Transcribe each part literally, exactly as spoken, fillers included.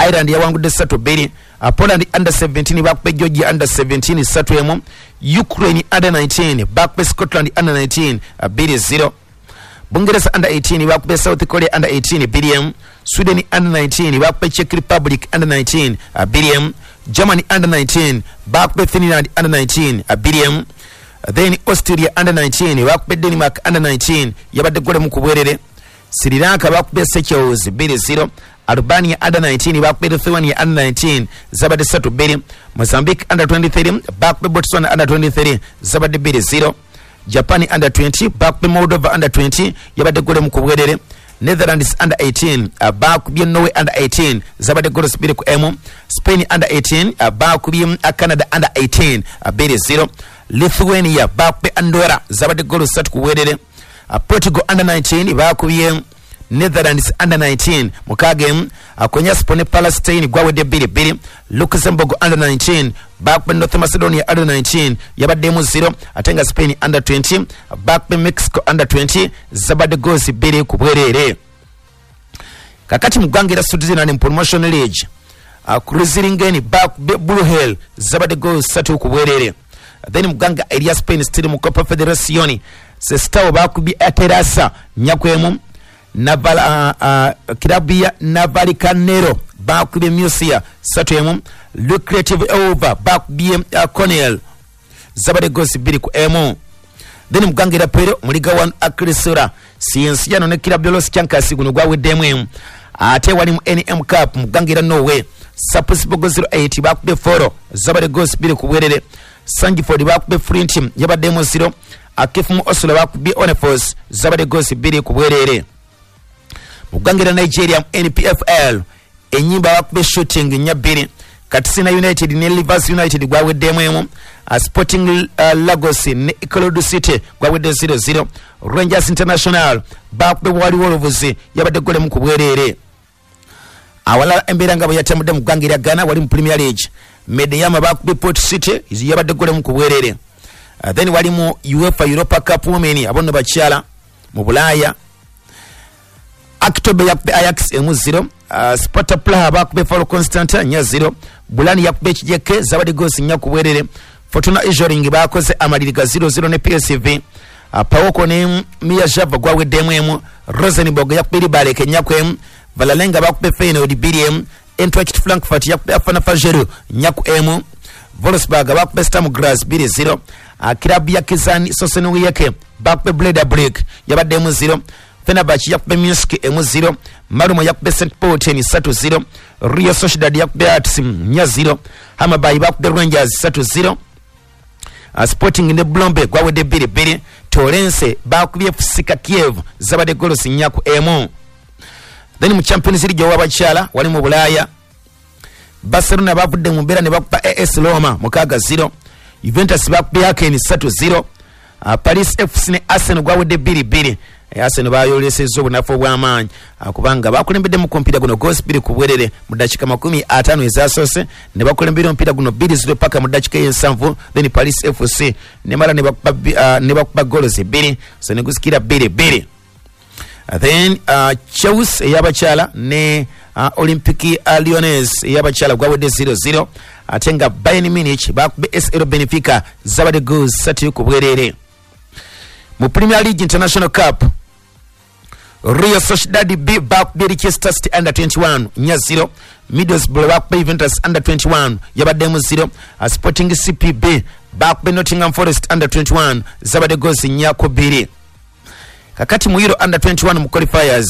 Ireland yawangudde ssatu bbiri. uh, Poland under seventeen bakube Georgia under seventeen ssatu emu. Ukraine under nineteen bakube Scotland under nineteen bbiri zero. Bungereza under eighteen bakube South Korea under eighteen bbiri emu. Sweden under nineteen bakube Czech Republic under nineteen bbiri emu. Germany under nineteen bakube Finland under nineteen bbiri emu. Then Austria under nineteen bakube Denmark under nineteen yabadde gole mu kubwerere. Sri Lanka bakube Seychelles bbiri zero. Albania under nineteen bakube Lithuania under nineteen zabadde ssatu bbiri. Mozambique under twenty-three bakube Botswana under twenty-three zabadde bbiri zero. Japan under twenty bakube Moldova under twenty yabadde gole mu kubwerere. Netherlands under eighteen uh, bakubye Norway under eighteen zabadde goals bbiri ku emu. Spain under eighteen uh, bakubye uh, Canada under eighteen uh, bbiri zero. Lithuania bakubye Andorra zabadde goals ssatu ku bwerere. uh, Portugal under nineteen bakubye Netherlands under nineteen mukaaga emu. uh, Konyaspor ne Palestine gwawedde bbiri bbiri. Luxembourg under nineteen bakubye North Macedonia under nineteen yabaddemu zero. Ate nga Spain under twenty bakubye Mexico under twenty zabadde goals bbiri ku bwerere. Kakati mu ggwanga erya Switzerland mu Promotion League, uh, Kruziringen bakubye Blue Hill zabadde goals ssatu ku bwerere. Then mu ggwanga erya Spain still mu Copa Federacion, Sestao bakubye Aterasa nnya ku emu. Naval, uh, uh, kirabu ya Navalcarnero bakubye Murcia ssatu emu. Lucrative Over bakubye uh, Cornell zabadde goals bbiri ku emu. Then mu ggwanga erya Peru mu Liga one Acrisola Cienciano ne kirabu ya Los Chancas guno gwaweddemu emu. Ate wali mu N M Cup mu ggwanga erya Norway, Sarpsborg zero eight bakubye Foro zabadde goals bbiri ku bwerere. Sandefjord bakubye Flint yabaddemu zero. Akifumu Oslo bakubye Onefos zabadde goals bbiri ku bwerere. Mu ggwanga erya Nigeria mu N P F L, Enyimba bakubye Shooting nnya bbiri. Katsina United ne Rivers United gwaweddemu emu. uh, Sporting uh, Lagos ne Ikorodu City gwawedde zero zero. Rangers International bakubye Warri Wolves yabadde gole mu ku bwerere. Awalala embeera nga bwe yatambudde mu ggwanga erya Ghana wali mu Premier League, Medeyama bakubye Port City yabadde gole mu ku bwerere. uh, then wali mu UEFA Europa Cup Women, abonno bakyala mu Bulaaya, Aktobe yakubye Ajax emu zero. uh, Sparta Praha bakubye Faro Constanta nnya zero. Bulani yakubye Kijeke zabadde goals nnya ku bwerere. Fortuna Ijoring bakoze amaliri ga zero zero ne P S V. uh, Pawoko ne Mia Java gwaweddemu emu. Rosenborg yakubye Ribaleke nnya ku emu. Valerenga bakubye Feyenoord bbiri emu. Eintracht Frankfurt yakubye Afana Fajero nnya ku emu. Wolfsburg bakubye Sturm Graz bbiri zero. uh, Kirabu ya Kizani Sosenowieke bakubye Bledablik yabaddemu zero. Fenerbahce yakubye Minsk emu zero. Malmo yakubye Saint Pölten ssatu zero. Real Sociedad yakubye Hearts nnya zero. Hammarby bakubye Rangers ssatu zero. uh, Sporting ne Blombe gwawedde bbiri bbiri. Torrense bakubye F C Kiev zabadde goals nnya ku emu. Then mu Champions League ow'abakyala wali mu Bulaaya, Barcelona bavudde mu mbeera ne bakuba A S Roma mukaaga zero. Juventus bakubye Haken ssatu zero. uh, Paris F C ne Arsenal gwawedde bbiri bbiri. Arsenal bayolesezza obunafu obw'amaanyi kubanga bakulembedde mu kompyuta guno goals bbiri ku bwerere mu ddakiika makumi ataano ezasoose, ne bakulembera omupiira guno bbiri zero paka mu ddakiika ey'ensanvu. Then Paris F C nemala ne bakuba uh, ne bakuba goals bbiri, so ne gusikira bbiri bbiri. Then uh, Chelsea ey'abakyala ne uh, Olympique uh, Lyonnais ey'abakyala gwawedde zero zero. Ate nga Bayern Munich bakubye S L Benfica zabadde goals ssatu ku bwerere. Mu Premier League International Cup, Real Sociedad B bakubye Leicester City under twenty-one nnya zero. Middlesbrough bakubye Juventus under twenty-one yabaddemu zero. uh, Sporting C P B bakubye Nottingham Forest under twenty-one zabadde goals nnya ku bbiri. Kakati mu Euro under twenty-one mu qualifiers,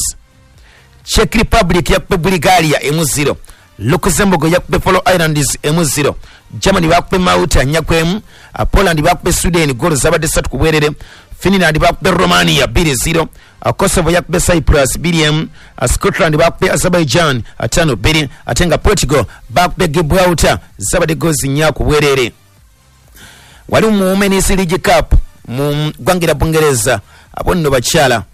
Czech Republic yakubye Bulgaria emu zero. Luxembourg yakubye Faroe Islands emu zero. Germany bakubye Malta nnya ku emu. uh, Poland bakubye Sweden goals zabadde ssatu ku bwerere. Finland bakubye Romania bbiri zero. uh, Kosovo yakubye Cyprus bbiri emu. uh, Scotland bakubye Azerbaijan ttaano bbiri. Ate nga Portugal bakubye Gibraltar zabadde goals nnya ku bwerere. Wali mu Women's League Cup mu ggwanga erya Bungereza, abo nno bakyala,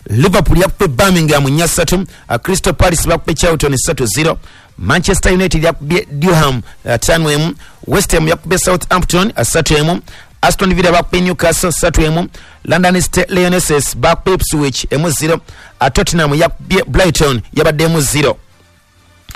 Liverpool yakubye Birmingham nnya ssatu. uh, Crystal Palace bakubye Charlton ssatu zero. Manchester United yakubye Durham ttaano emu. West Ham yakubye Southampton ssatu emu. Aston Villa bakubye Newcastle ssatu emu. London State Lionesses bakubye Ipswich emu zero. Tottenham yakubye Brighton yabaddemu zero.